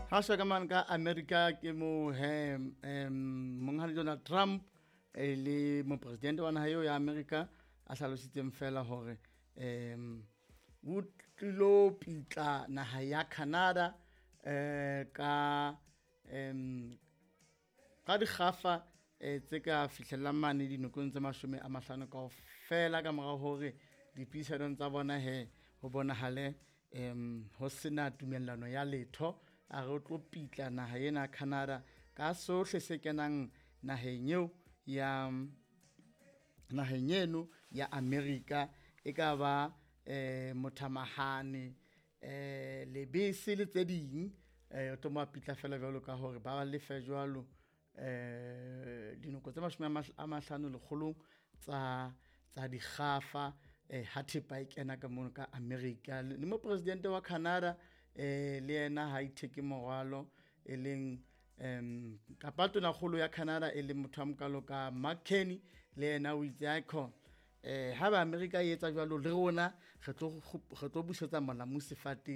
Ha shwa ka mane ka America ke mo he monghadi Donald Trump e le mopresidente wa naha eo ya America a hlalositseng fela hore o tlilo pitla naha ya Canada ka ka dikgafa tse ka fihlellang mane dinokong tse 50 kaofela ka mora hore dipuisanong tsa bona he ho bonahale ho sena tumellano ya letho. A re o tlo pitla naha ena Canada ka sohle se kenang naheng eo ya naheng eno ya America, e ka ba mothamahane, lebese le tse ding. O tlo mo pitla fela jwalo ka hore ba lefe jwalo dinoko tse 50 lekgolong tsa dikgafa ha thepa e kena ka mono ka America. Le mopresidente wa Canada le yena ha itheke morwalo, e leng kapa tonakgolo ya Canada e leng motho a mokalo ka Mark Carney, le yena o itse akhona ha ba America e etsa jwalo le rona re tlo busetsa molamu sefateng.